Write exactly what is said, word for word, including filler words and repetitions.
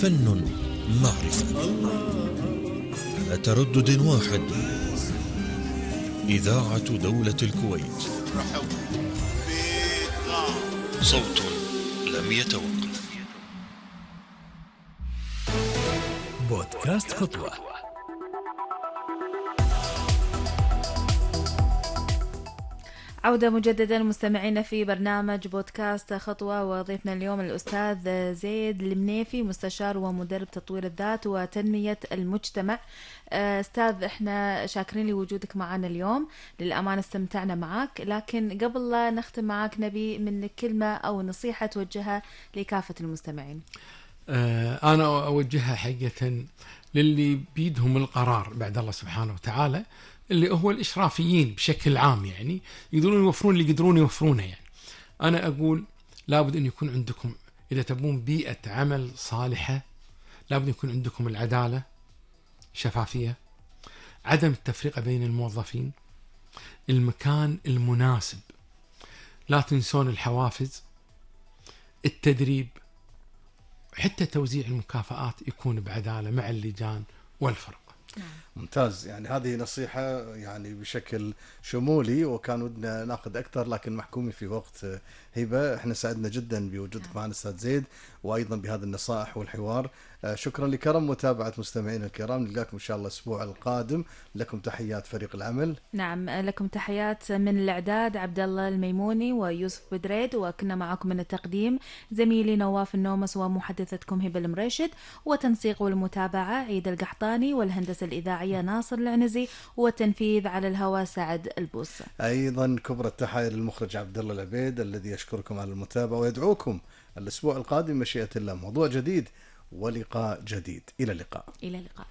فن، معرفة، على تردد واحد. إذاعة دولة الكويت، صوت لم يتوقف. بودكاست خطوة. عودة مجددا مستمعين في برنامج بودكاست خطوة، وضيفنا اليوم الأستاذ زيد المنيفي، مستشار ومدرب تطوير الذات وتنمية المجتمع. أستاذ، احنا شاكرين لوجودك معنا اليوم، للأمانة استمتعنا معك، لكن قبل لا نختم معك نبي منك كلمة أو نصيحة توجهها لكافة المستمعين. أنا أوجهها حقيقة للي بيدهم القرار بعد الله سبحانه وتعالى، اللي هو الإشرافيين بشكل عام، يعني يقدرون يوفرون اللي يقدرون يوفرونه. يعني أنا أقول لابد أن يكون عندكم، إذا تبون بيئة عمل صالحة، لابد يكون عندكم العدالة، شفافية، عدم التفرقة بين الموظفين، المكان المناسب، لا تنسون الحوافز، التدريب، حتى توزيع المكافآت يكون بعدالة مع اللجان والفرق. ممتاز. يعني هذه نصيحة يعني بشكل شمولي، وكان ودنا ناخذ أكثر لكن محكومين في وقت. هبة، احنا سعدنا جدا بوجودك معنا أستاذ زيد، وأيضا بهذه النصائح والحوار. شكرا لكرم متابعة مستمعين الكرام، نلقاكم إن شاء الله الأسبوع القادم. لكم تحيات فريق العمل. نعم، لكم تحيات من الإعداد عبد الله الميموني ويوسف بدريد، وكنا معكم من التقديم زميلي نواف النومس، ومحدثتكم هبة المريشد، وتنسيق والمتابعة عيد القحطاني، والهندسة الإذاعية ناصر العنزي، والتنفيذ على الهواء سعد البوصة. أيضا كبرى التحايا للمخرج عبد الله العبيد الذي يشكركم على المتابعة، ويدعوكم الأسبوع القادم مشيئة الله موضوع جديد ولقاء جديد. إلى اللقاء. إلى اللقاء.